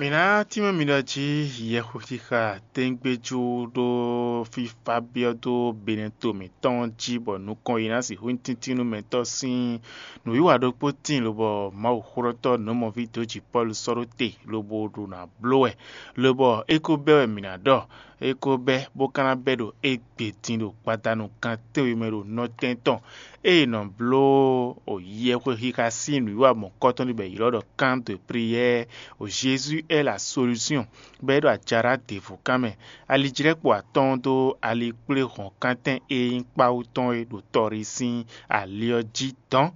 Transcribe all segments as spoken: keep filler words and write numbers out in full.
Mǐ ná tínmɛ mi ɖɔ jí yɛxwexixa tɛ́ngbéjú ɖó fífá byɔ́ dó Benɛto mǐtɔn jí, bɔ nukɔn yi ná sixú nyí tíntínnúmɛtɔ́ sín nǔwiwa ɖokpó tíin, lobɔ Mawuxwlɔ́tɔ́ nǔmɔví dǒjǐ Pɔ́lu sɔ́ ɖó te, lobo ɖo nǎ bló wɛ, lobɔ é ko bɛ́ wɛ mǐ ná ɖɔ, é ko bɛ́ bó ka ná bɛ́ ɖo égbé din ɖo gbadanu gan tɛ́nwe mɛ ɖo nɔtɛn tɔn. Ée è nɔ bló yɛxwexixa sín nǔwiwa mɔ̌kɔtɔn ɖé bɔ è ylɔ́ ɖɔ camp de prière au Jésus est la solution, bɔ é ɖo ajará ɖěvo kan mɛ. Alijlɛ́kpo atɔ́ɔ́n dó alikpléhɔ̌nkántɛn e nyí kpáwú tɔn é ɖo tɔrí sín ali ɔ́ jí dɔ̌n.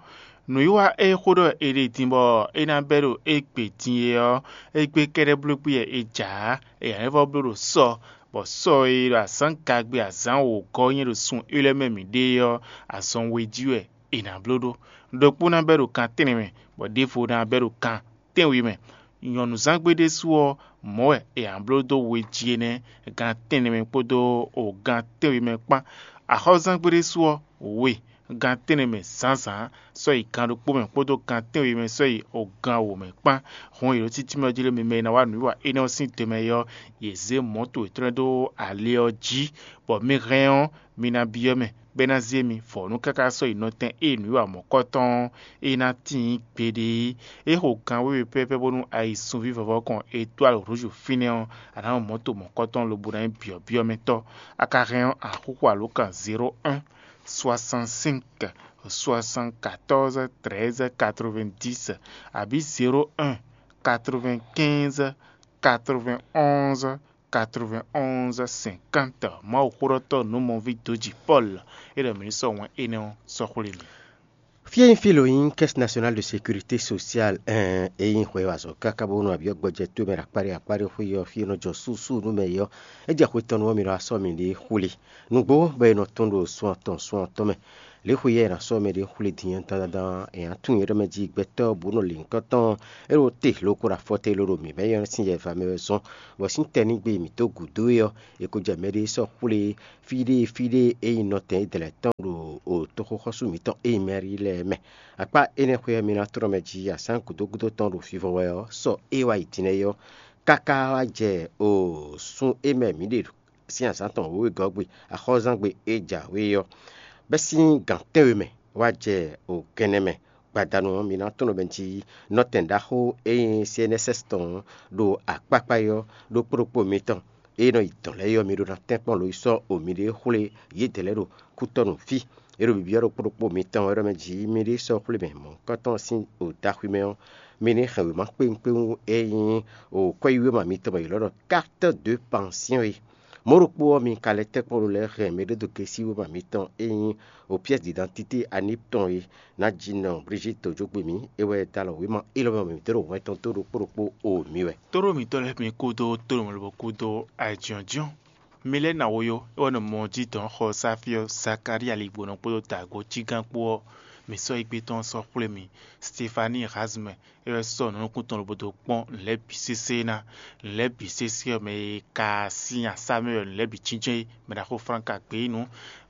Nǔwiwa e xó ɖɔ è ɖe din bɔ é ná bɛ́ ɖo égbé din é ɔ́, égbé kɛ́ɖɛ́ bló gbé wɛ è jǎ ǎ. È nǎ vɔ́ bló ɖo sɔ, bɔ sɔ e ɖo azǎngagbe azǎn wǒgɔ́ nyɛ ɖo sun élɔ́ mɛ mǐ ɖe é ɔ́, azɔn we jí wɛ è nǎ bló ɖó. Ɖokpó ná bɛ́ ɖo kan tɛ́nnɛ mɛ, bɔ ɖěvo ná bɛ́ ɖo kan tɛ́nwe mɛ. Nyɔ̌nuzán gbe ɖésú ɔ́, mɔ̌ wɛ è nǎ bló dó we jí énɛ́, gan tɛ́nnɛ mɛ kpódó gan tɛ́nwe mɛ kpán. Axɔ́zán gbe ɖésú ɔ́, we, gan tɛ́nnɛ mɛ zǎnzǎn sɔ́ yi gan ɖokpó mɛ kpódó gan tɛ́nwe mɛ sɔ́ yi gan wǒ mɛ kpán. Hɔn è ɖo títí mɛ ɔ́ jí lé mi mɛ e ná wá nǔwiwa énɛ́ ɔ́ sín do mɛ é ɔ́, yě zé mɔ̌to yětɔn lɛ́ɛ dó ali ɔ́ jí, bɔ mi hɛn ɔ́, mi ná byɔ́ mɛ, bɔ é ná zé mi vɔ̌nu káká sɔ́ yi nɔtɛn e nǔwiwa mɔ̌kɔtɔn ɔ́, é ná tíin gbeɖé é. É xo gan wěwe pɛ́pɛ́ bónú ayi sunví vɔvɔ kɔn étoile rouge fínɛ́ ɔ́, a nǎ mɔ mɔ̌to mɔ̌kɔtɔn lobo ná nyí byɔ̌byɔ́mɛtɔ́. A ka hɛn ɔ́, a xúxú alǒkan zéro un, soixante-cinq, soixante-quatorze, treize, quatre-vingt-dix, abǐ zéro un, quatre-vingt-quinze, quatre-vingt-onze, quatre-vingt-onze, cinquante. Mawuxóɖɔtɔ́ nǔmɔví dǒjì Pɔ́lu, é ɖɔ mǐ ní sɔ́ wɛn énɛ́ ɔ́ sɔ́ xwlé mì. Fí e nyí fí lǒ nyí Caisse Nationale de Sécurité Sociale, ɛn, é nyí hwɛ e wa azɔ̌ káká bónú abyɔ́ gbɔjɛ towe mɛ ɖo akpáɖé akpáɖé xwé ɔ́, fí e nɔ jɔ súsú nú mɛ é ɔ́, é jɛ xwe tɔn nu ɔ́, mi nɔ wá sɔ́ mì ɖě xwlé. Nǔgbó bɔ è nɔ tɔ́n ɖo sun atɔn sun atɔn mɛ. Lě xwe yɛ è nǎ sɔ́ mɛ ɖě xwlé din ɔ́ dandan, è nǎ tunwun nyɛ ɖɔ mɛ jí gbɛtɔ́ bǔ nɔ lǐnkɔ́n tɔn, é ɖo te loko ɖo afɔ te ló ɖo mǐ mɛ nyɔ́ sín yɛva mɛ wɛ zɔ́n, bɔ sín tɛ́ ní gbe mǐ dó gǔdo é ɔ́, è ko jɛ mɛɖé sɔ́ xwlé fí ɖé fí ɖé e nyí nɔtɛn Izlayɛ́li tɔn ɖo toxoxɔ́sú mǐtɔn e nyí Mɛ́rí lɛ́ɛ mɛ. Akpá énɛ́ xwe ɔ́, mi ná tlɔ́ mɛ jí azǎn gǔdo gúdo tɔn ɖo vivɔ wɛ ɔ́, sɔ e wá yi din lɛ́ɛ ɔ́, káká wá jɛ o sun e mɛ mǐ ɖe sín azǎn tɔn wěwegɔ́ gbe, axɔ́zán gbe e jǎwe ɔ́, bɛ́ sín gǎn tɛ́nwe mɛ wá jɛ o gɛnɛ mɛ. Gbadanu ɔ́, mi ná tunwun mɛ jí nɔtɛn ɖaxó e nyí C N S S tɔn ɖo akpákpá é ɔ́ ɖo kplɔ́kpó mitɔn. E nɔ yi dɔ̌n lɛ́ɛ é ɔ́, mi ɖó ná tɛ́nkpɔ́n lo yi sɔ́ o miɖée xwlé yědɛɛ lɛ́ɛ ɖo kútɔ́nu fí. É ɖo bibyɔ́ ɖo kplɔ́kpó mitɔn wɛ ɖɔ mɛ jí miɖée sɔ́ xwlé mɛ mɔ̌hunkɔtɔn sín o daxwi mɛ ɔ́, mi ní hɛn wěma kpéwúnkpéwún e nyí o kwɛ́yíwéma mitɔn bɔ yě lɔ́ ɖɔ carte de pension é. Mɔ̌ ɖokpó ɔ́, mi ka lɛ́ tɛ́nkpɔ́n lo lɛ́ɛ hɛn mɛ ɖé dó gěsíwéma mitɔn e nyí o pièce d'identité anib tɔn é. Nájínɔ Brigitte Dojogbe mǐ, é wɛ dó alɔ wěma élɔ́ mɛ mǐ dó ɖo hwɛntɔn tó ɖokpó ɖokpó o mǐ wɛ. Tóɖó mǐtɔn lɛ́ɛ mi kúdó tónúmɔlobɔ kúdó ayǐjínjɔ́n. Mi lɛ́ ná wo yó, é wɛ nɔ mɔ jí dɔ̌n xɔ sáfí ɔ́, Zakalía ligbonɔ kpódó dǎgbo cígán kpó ɔ́, mǐ sɔ́ égbé tɔn sɔ́ xwlé mi. Stefani Razmɛ, é wɛ sɔ́ nǔnukún tɔn lobo dó kpɔ́n nǔ lɛ́ɛ bǐ sésé ná. Nǔ lɛ́ɛ bǐ sésé ɔ́, mɛ e ka sín asá mɛ wɛ nǔ lɛ́ɛ bǐ jínjɔ́n é, mɛ ɖaxó Flánka gbě yi nǔ.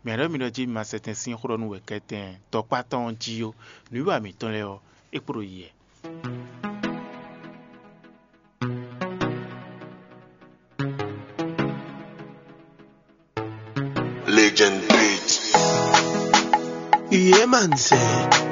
Mǐ ɖɔ mi ɖɔ jí mi ma sɛ tɛn sín xó ɖɔ nú wɛ̌kɛ́tɛn tɔkpá tɔn ɔ́ jí ó. Nǔwiwa mǐtɔn lɛ́ɛ ɔ́, é kpo ɖo yi wɛ. Legend Beat. Yeah, man, say.